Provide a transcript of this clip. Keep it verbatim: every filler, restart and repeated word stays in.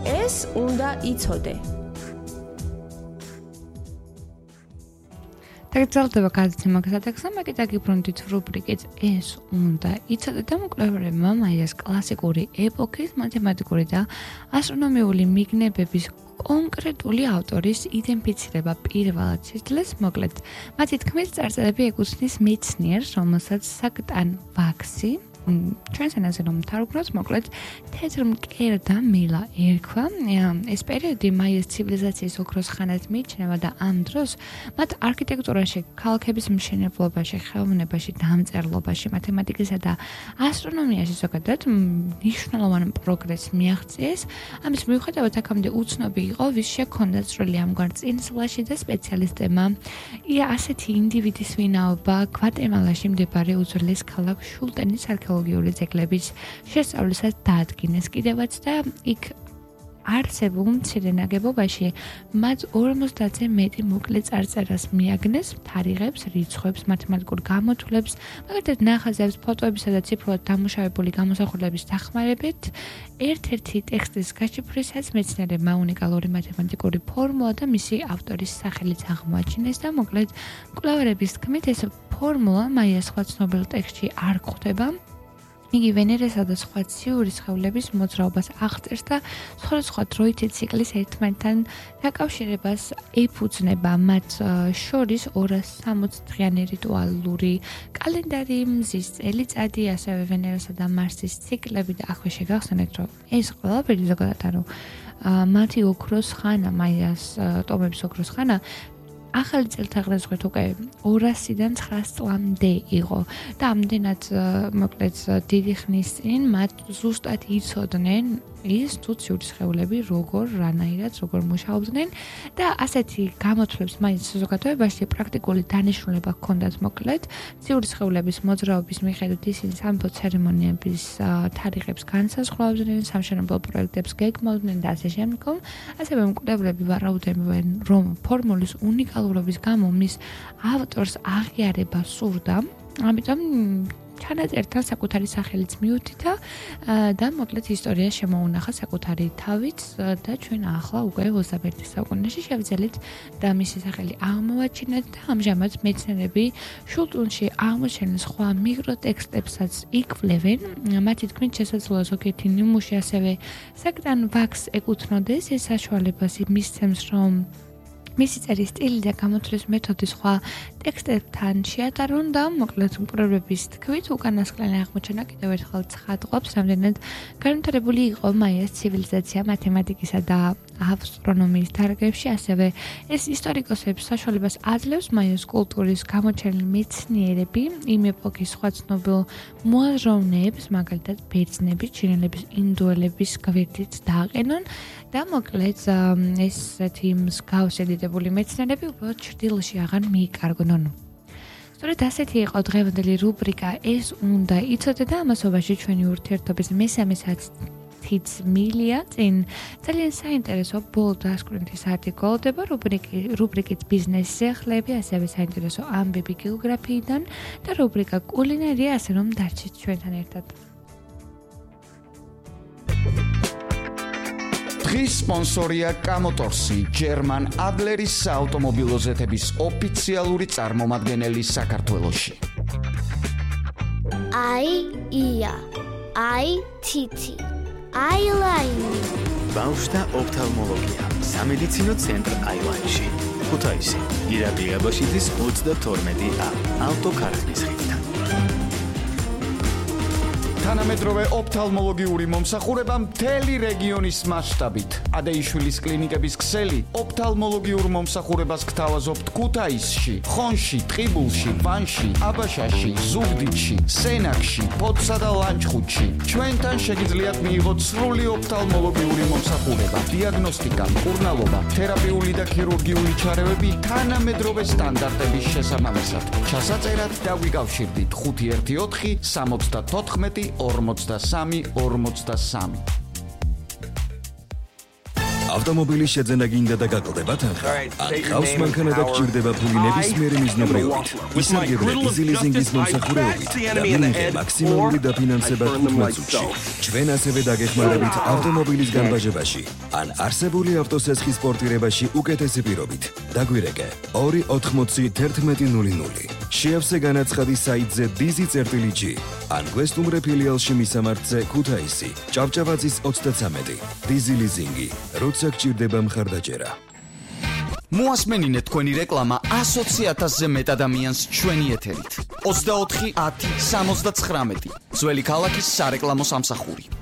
ეს უნდა იცოდე. დაგრძელდება გადაცემა გასატექსტზე, მეკითხა გიბრუნდით რუბრიკით ეს უნდა იცოდე და მკვლევარებმა მაიას კლასიკური ეპოქის მათემატიკური და ასტრონომიული მიგნებების კონკრეტული ავტორის იდენტიფიცირება პირველად შეძლეს, მოკლედ, მათი თქმით წარწერები ეკუთვნის მეცნიერს, რომელსაც საკტან ვაქსი ჩვენს ენაზე რომ თარგმნოთ, მოკლედ თეთრ მკერდა მილა ერქვა. ეს პერიოდი მაიას ცივილიზაციის ოქროს ხანად მიიჩნევა და ამ დროს მათ არქიტექტურაში, ქალაქების მშენებლობაში, ხელოვნებაში, დამწერლობაში, მათემატიკასა და ასტრონომიაში ზოგადად მნიშვნელოვანი პროგრესი მიაღწიეს. ამის მიუხედავად აქამდე უცნობი იყო, ვის შექონდა წვლილი ამგვარ წინსვლაში და სპეციალისტებმა ასეთი ინდივიდის ვინაობა გვატემალაში მდებარე უძველეს ქალაქ შულტენის არქეოლოგიური ძეგლების შესწავლისას დაადგინეს კიდევაც და იქ არსებულ მცირე ნაგებობაში მათ ორმოცდაათზე მეტი მოკლე წარწერას მიაგნეს, თარიღებს, რიცხვებს, მათემატიკურ გამოთვლებს, მაგალითად ნახაზებს, ფოტოებისა და ციფრულად დამუშავებული გამოსახულების დახმარებით ერთ-ერთი ტექსტის გაშიფვრისას მეცნიერებმა უნიკალური მათემატიკური ფორმულა და მისი ავტორის სახელიც აღმოაჩინეს და მოკლედ მკვლევარების თქმით ეს ფორმულა მაიას სხვა ცნობილ ტექსტში არ გვხვდება. იგი ვენერესა და სხვა ციური სხეულების მოძრაობას აღწერს და სხვადასხვა დროითი ციკლის ერთმანეთთან დაკავშირებას ეფუძნება. მათ შორის ორას სამოცი დღიანი რიტუალური კალენდარი, მზის წელიწადი, ასევე ვენერესა და მარსის ციკლები და აქვე შეგახსენეთ, რომ ეს ყველაფერი ზოგადად ანუ მათი ოქროს ხანა, მაიას ტომების ოქროს ხანა ახალი წელთაღრიცხვით უკვე ორასიდან ცხრას წლამდე იყო და ამდენად მოკლედ დიდი ხნის წინ მათ ზუსტად იცოდნენ ის თუ ციური სხეულები როგორ რანაირად როგორ მუშაობდნენ და ასეთი გამოთვლებს მაინც საზოგადოებაში პრაქტიკული დანიშნულება ჰქონდათ მოკლედ ციური სხეულების მოძრაობის მიხედვით ისინი სამეფო ცერემონიების თარიღებს განსაზღვრავდნენ, სამშენებლო პროექტებს გეგმავდნენ და ასე შემდგომ. ასევე მკვლევრები ვარაუდობენ, რომ ფორმულის უნიკალურობის გამო მის ავტორს აღიარება სურდა, ამიტომ ჩანაწერთან საკუთარი სახელიც მიუთითა და მოკლედ ისტორია შემოუნახა საკუთარი თავით და ჩვენ ახლა უკვე ოცდამეერთე საუკუნეში შევძელით და მისი სახელი აღმოვაჩინეთ და ამჟამად მეცნიერები შულტუნში აღმოჩენილ სხვა მიკროტექსტებსაც იკვლევენ. მათი თქმით შესაძლოა ზოგიერთი ნიმუში ასევე საკტან ვაქსს ეკუთვნოდეს. ეს საშუალებას მისცემს, რომ მისი წერის სტილი და გამოთვლის მეთოდი სხვა ტექსტებთან შეატარონ და მოკლედ მკვლევარების თქმით უკანასკნელი აღმოჩენა კიდევ ერთხელ ცხადყოფს, რამდენად განვითარებული იყო მაიას ცივილიზაცია მათემატიკისა და ასტრონომიის დარგებში. ასევე ეს ისტორიკოსებს საშუალებას აძლევს მაიას კულტურის გამოჩენილი მეცნიერები იმ ეპოქის სხვა ცნობილ მოაზროვნეებს, მაგალითად ბერძნების, ჩინელების, ინდოელების გვერდით დააყენონ და მოკლედ ესეთი მსგავსი დიდებული მეცნიერები უბრალოდ ჩრდილოში აღარ მიიკარგნონ. სწორედ ასეთი იყო დღევანდელი რუბრიკა ეს უნდა იცოდე და ამასობაში ჩვენი ურთიერთობის მესამე საათიც მილია წინ ძალიან საინტერესო ბოლო დასკვნითი საათი გოლდება რუბრიკით ბიზნეს სიახლეები, ასევე საინტერესო ამბები გეოგრაფიიდან და რუბრიკა კულინარია, ასე რომ დარჩით ჩვენთან ერთად. დღის სპონსორია კამოტორსი, ჯერმან ადლერის საავტომობილო ზეთების ოფიციალური წარმომადგენელი საქართველოში. აი ია, აი თითი, აილაინი. ბავშვთა ოფთალმოლოგია, სამედიცინო ცენტრ აილაინში. ქუთაისი, ირაკლი აბაშიძის ოცდათორმეტი ა, ავტოქარხნის ხიდთან. თანამედროვე ოფთალმოლოგიური მომსახურება მთელი რეგიონის მასშტაბით. ადეიშვილის კლინიკების ქსელი ოფთალმოლოგიურ მომსახურებას გთავაზობთ ქუთაისში, ხონში, ტყიბულში, ვანში, აბაშაში, ზუგდიდში, სენაკში, ფოთსა და ლანჩხუთში. ჩვენთან შეგიძლიათ მიიღოთ სრული ოფთალმოლოგიური მომსახურება, დიაგნოსტიკა, მკურნალობა, თერაპიული და ქირურგიული ჩარევები თანამედროვე სტანდარტების შესაბამისად. ჩასაწერად დაგვიკავშირდით ხუთი ერთი ოთხი სამოცდათოთხმეტი ორმოცდასამი ორმოცდასამი. ავტომობილის შეძენა გინდა და გაკლდება თანხა. ან ხავს მანქანა და გჭირდება ფული ნებისმიერი მიზნობრეობით. ისარგებლე Easy Leasing-ის მომსახურებით და მიიღე მაქსიმალური დაფინანსება თხუთმეტ წუთში. ჩვენ ასევე დაგეხმარებით ავტომობილის განბაჟებაში ან არსებული ავტოსესხის პორტირებაში უკეთესი პირობით. დაგვირეკე ორი ოთხმოცი თერთმეტი ნული ნული. შეავსე განაცხადი საიტზე dizi.gi ან გვესტუმრე ფილიალში მისამართზე ქუთაისი, ჭავჭავაძის ოცდათრამეტი. Easy Leasing-ი, როცა გჭირდება მხარდაჭერა. მოასმენინეთ თქვენი რეკლამა ათი ათასზე მეტ ადამიანს ჩვენი ეთერით. ოცდაოთხი ათი სამოცდათხრამეტი. ძველი ქალაქის სარეკლამო სამსახური.